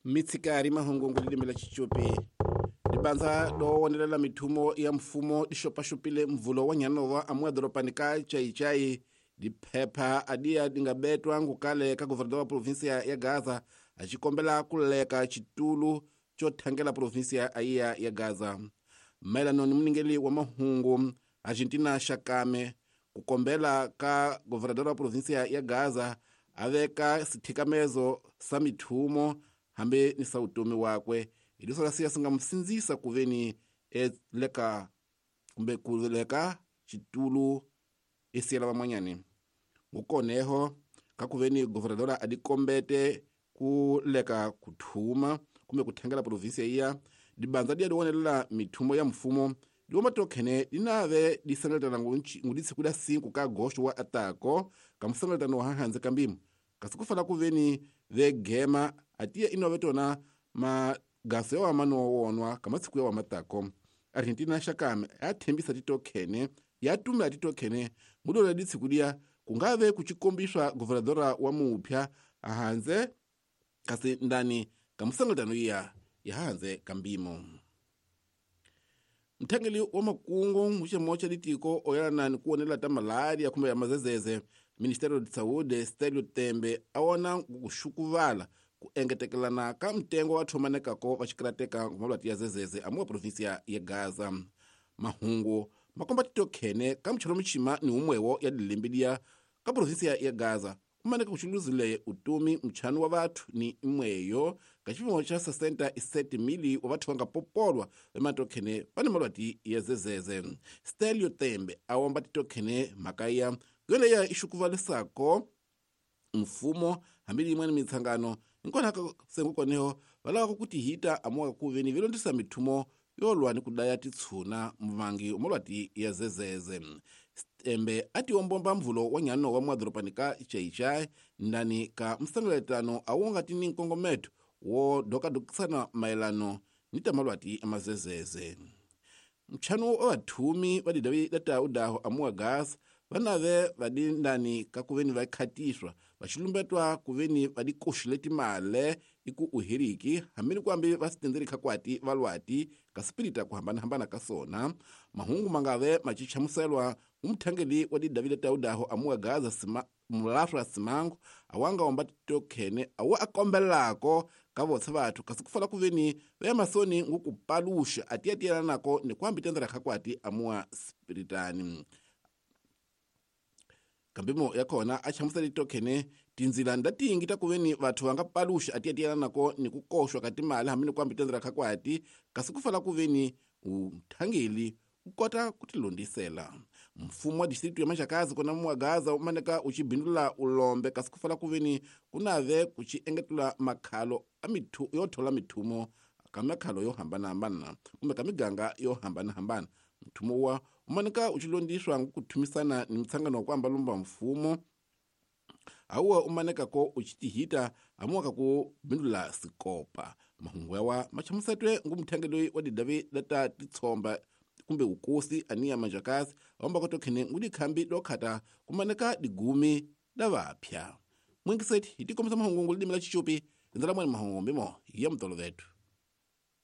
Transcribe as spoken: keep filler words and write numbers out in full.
Mitsikari mahungu lilimi la Xicopi libanza do wonelela mithumo ya mfumo lixopaxopile mvulo wa nyanova amuya doropani ka Chaichai diphepha adiya dingabetwa ngukale ka governador wa provinsia ya Gaza axikombela kuleka xitulu xo thangela provinsia ayiya ya Gaza. Mayelano ni muningeli wa mahungu Argentina Xakame ku kombela ka governador wa provinsia ya Gaza a veka sithikamezo sa mithumo hambi ni sa utomi wakwe hileswo la siya swi nga mu sindzisa ku veni eleka kumbe ku leka xitulu esiyela van'wanyani. Ngukoneho ka ku veni governadora a dikombete ku leka ku thuma kumbe ku thangela provinsia iya dibanza diya diwonelela mithumo ya mfumo diwoma tokhene dinave disangaletana nguditshiku da cinco ka agosto wa atako ka musangaletano wa hanze ka mbimo kasi ku fana ku veni vegema atiya inove tona magaso ya wama nowonwa ka masiku ya wamatako. Argentina Xakame ya thembisa titokhene ya tumela titokhene ngudola ditshiku diya kungave kuchikombiswa governadora wa mupya ahanze kasi ndani ka musangaletano iya ya hanze ka mbimo. Mthangeli wa makungu muxemo xa litiko oyelana ni ku wonela ta malaria kumbe ya mazezeze Ministério de Saúde Stelio Tembe a wona ku xukuvala ku engetekelana ka mtengo wa thomanekako va xikarateka ngomavati ya zezeze amuwa provinsia ya Gaza. Mahungu makomba titokhene ka mchelo muchima ni umwewo ya dilembe ka provinsia ya Gaza kumaneka kuxuluzile utomi mchanu wa vathu ni imweyo ka xipimo xa sessenta e sete mili wa vathu va nga popolwa vematokhene va ni malwati ya zezeze. Stelio Tembe a womba titokhene mhaka ya yoleya i xukuvalisako mfumo hambi yin'wana mitsangano hinkona ka sengukoneho va lavaka ku tihita amuka ku veni vilondzisa mithumo yo lwa ni ku daya titshuna muvangi wa malwati ya zezeze. Tembe a tiombomba mvulo wa nyano wa mwadhoropani ka Chaichai ndani ka msangaletano a wu nga ti ni nkongometo wo dokadokisana mayelano ni ta malwati ya mazezeze. Mchano wa vathumi va didavi data udaho amuwa gas vanave vadi ndani ka kuveni va khatiswa vaxilumbetwa kuveni va dikoxile timale iku uhiriki hambi ni kuambi va sitendzelekha khakwati valwati ka sipirita ku hambanahambana ka sona. Mahungu mangave machichamuselwa ngumthangeli wa didavi data udaho amuwa Gaza sima mulafra simango awanga wamba titokhene awa akombelako ka votse vathu kasi kufala kuveni va masoni ngukupaluxa atiyatiyelanako ni kuambi tendela khakwati amuwa spiritani. Kambimo ya kona a chamusela titokhene tindzila ndatingi ta kuveni vathu va nga paluxa atiyatiyelanako ni ku koxwa ka timali hambi ni kuambi tendela khakwati kasi kufala kuveni uthangeli u kota ku tilondzisela. Mfumo wa district ya Maxakazi kona muwa Gaza umaneka uchibindula ulombe kasi kufala kuveni kunave kuchi engetula makhalo a mithu yo thola mithumo ka makhalo yo hambanahambana kumbe ka miganga yo hambanahambana. Mthumo wa umaneka uchilondiswa kuthumisana ni mtsangano wa kuamba lumba mfumo awuwa umaneka ko uchitihita amuwaka ku bindula sikopa. Mahungu yawa machamusetwe ngumthangeli wa didavi data titsomba kumbe ukosi aniya Manjakazi awamba kotokhene ngudikhambi dokhata kumaneka digumi da vapya. Mwingiseti hitikomisa mahungu ngulidimi la Xicopi ndzela mwani mahungu mbimo ya mtolo vethu.